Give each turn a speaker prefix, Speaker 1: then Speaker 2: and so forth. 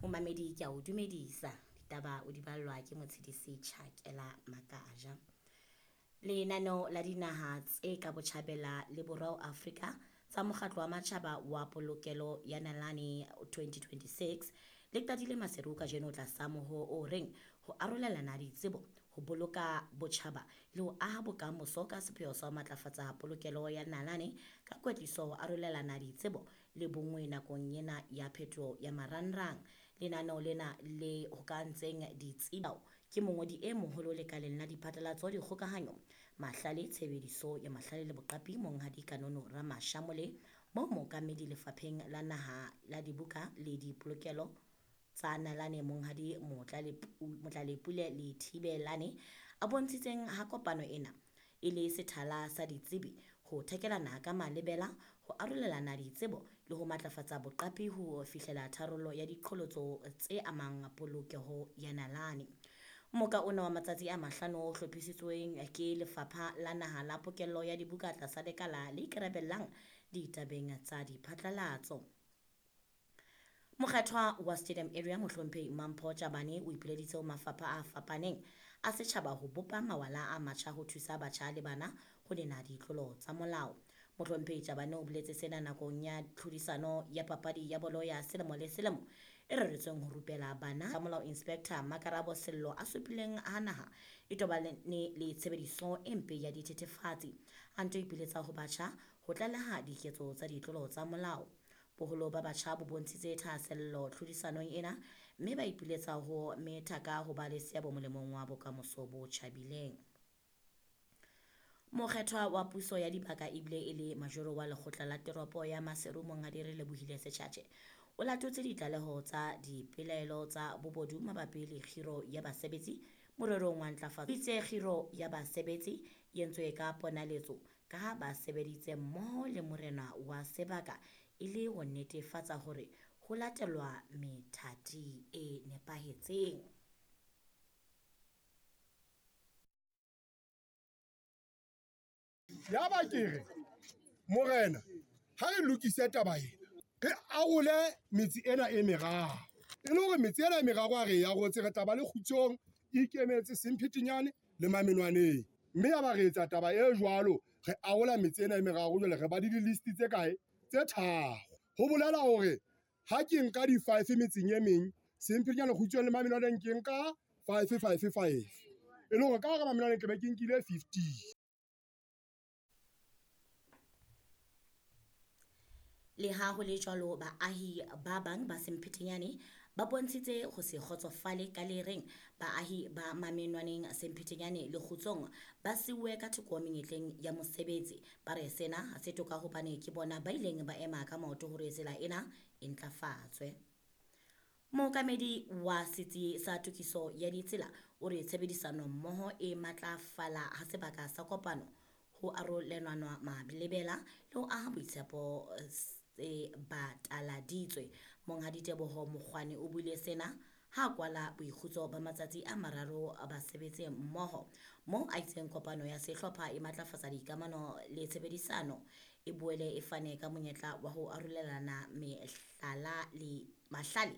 Speaker 1: Momamedi ke a o dumedisa. Ditaba o di ballwa ke Motshedisi Tjhakela Makaja. Lenaneo la dinaha tse ka botjhabela le borwa ho Afrika tsa Mokgatlo wa Matjhaba wa Polokelo ya Nalane 2026 le qadile Maseru kajeno tlasa moho o reng ho arolelana ditsebo, ho boloka botjhaba le ho aha bokamoso ka sepheo sa ho matlafatsa polokelo ya nalane ka kwetliso, ho arolelana ditsebo le bonngwe nakong ena ya phetoho ya marangrang. Lenaneo lena le hokahantseng ditsebi ke mongodi e moholo lekaleng la diphatlalatso, dikgokahanyo, mahlale, tshebediso ya mahlale le boqapi Monghadi Kanono Ramashamole, moo mookamedi lefapheng la naha la dibuka le dipolokelo tsa nalane Monghadi Motlalepule Lethibelane a bontshitseng ha kopano ena e le sethala sa ditsebi ho thekelana ka malebela, ho arolelana ditsebo le ho matlafatsa boqapi ho fihlela tharollo ya diqholotso tse amang polokeho ya nalane. Moka ona wa matsatsi a mahlano o hlophisitsweng ke Lefapha la Naha la Pokello ya Dibuka tlasa lekala le ikarabellang ditabeng tsa diphatlalatso. Mokgethwa wa Stadium Area Mohlomphehi Mampho Tjabane o ipileditse ho mafapha a fapaneng a setjhaba ho bopa mawala a matjha ho thusa batjha le bana ho nena ditlolo tsa molao. Mohlomphehi Tjabane o boletse sena nakong ya tlhodisano ya papadi ya bolo ya selemo le selemo e reretsweng ho rupela bana ka molao. Inspector Makarabo Sello a supileng ha naha e tobane le tshebediso e mpe ya dithethefatsi, a nto ipiletsa ho batjha ho tlaleha diketso tsa ditlolo tsa molao. Boholo ba batjha bo bontshitse thahasello tlhodisanong ena mme ba ipiletsa ho metha ka ho ba le seabo molemong wa bokamoso bo tjhabileng. Mokgethwa wa puso ya dibaka ebile e le majoro wa lekgotla la teropo ya Maseru Monghadi Relebohile Setjhatjhe o latotse ditlaleho tsa dipelaelo tsa bobodu mabapi le kgiro ya basebetsi morerong wa ntlafatso. O itse kgiro ya basebetsi e entswe ka ponaletso ka ha ba sebeditse mmoho le morena wa sebaka e le ho netefatsa hore ho latelwa methati e nepahetseng.
Speaker 2: Yaba ke re, Morena, ha re lokise taba ena, re arole metse ena e meraro. E le hore metse ena e meraro ha re e arotse, re tla ba le Kgutsong, Ikemetse, Semphetenyane le Mamenwaneng. Mme yaba re etsa taba e jwalo, re arola metse ena e meraro, jwale re ba le di-list tse kae? Tse tharo. Ho bolela hore ha ke nka di-five metseng e meng, Semphetenyane, Kgutsong le Mamenwaneng ke nka five, five, five. E le hore ka hara Mamenwaneng ke be ke nkile 50.
Speaker 1: Leha ho le jwalo, baahi ba bang ba Semphetenyane ba bontshitse ho se kgotsofale ka le reng baahi ba Mamenwaneng, Semphetenyane le Kgutsong ba siuwe ka thoko menyetleng ya mosebetsi. Ba re sena ha se toka hobane ke bona ba ileng ba ema ka maoto hore tsela ena e ntlafatswe. Mookamedi wa setsi sa tokiso ya ditsela o re tshebedisano mmoho e matlafala ha sebaka sa kopano ho arolelanwa malebela le ho aha boitshepo tse bataladitswe. Monghadi Teboho Mokgwane o buile sena ha kwala boikgutso ba matsatsi a mararo basebetsi mmoho, moo a itseng kopano ya sehlopha e matlafatsa dikamano le tshebedisano, e boele e fane ka monyetla wa ho arolelana mehlala le mahlale.